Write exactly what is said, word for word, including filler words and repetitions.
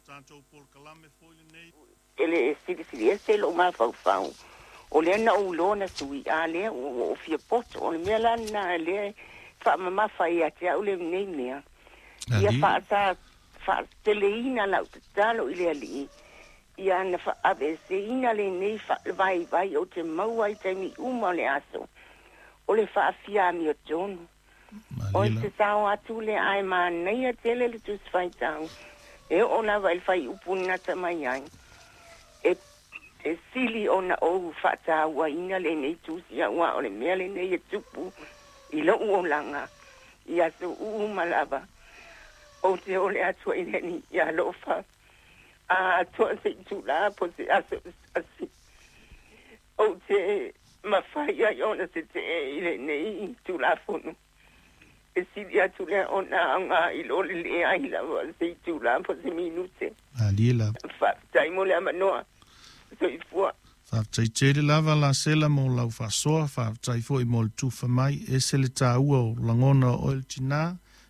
Tatou polokalame foi lenei. E le silisiliese lou mafaufau, o lea na ou iloa na sui, a lea ua ou fia poto. O le mea la lena lea e faamamafa ai ia te au lenei mea. Ia faasa faateleina lau tatalo i le Alii, ia na faaveseina lenei vaivai ou te maua i taimi uma o le aso, o le faafia amiotonu. O se sao atu lea ae manaia tele le Tusi Faitau e oo lava i le fuaiupu na gata mai ai. E, e sili ona ou faatauaina lenei tusi aua o le mea lenei e tupu i lou olaga i aso uma lava. Ou te ole atu ai le Alii ia alofa a atoa se itulā po o se aso se tasi ou te mafai ai ona tetee i lenei Tulafono. E sili atu lea ona aoga i lo le leai lava o se itulā po o se minute. Malie lava. Faafetai mo le avanoa. Soifua. Faafetai tele lava Lasela mo lau faasoa, faafetai foi mo le tufa mai, ese le taua o lagona o oe le tinā.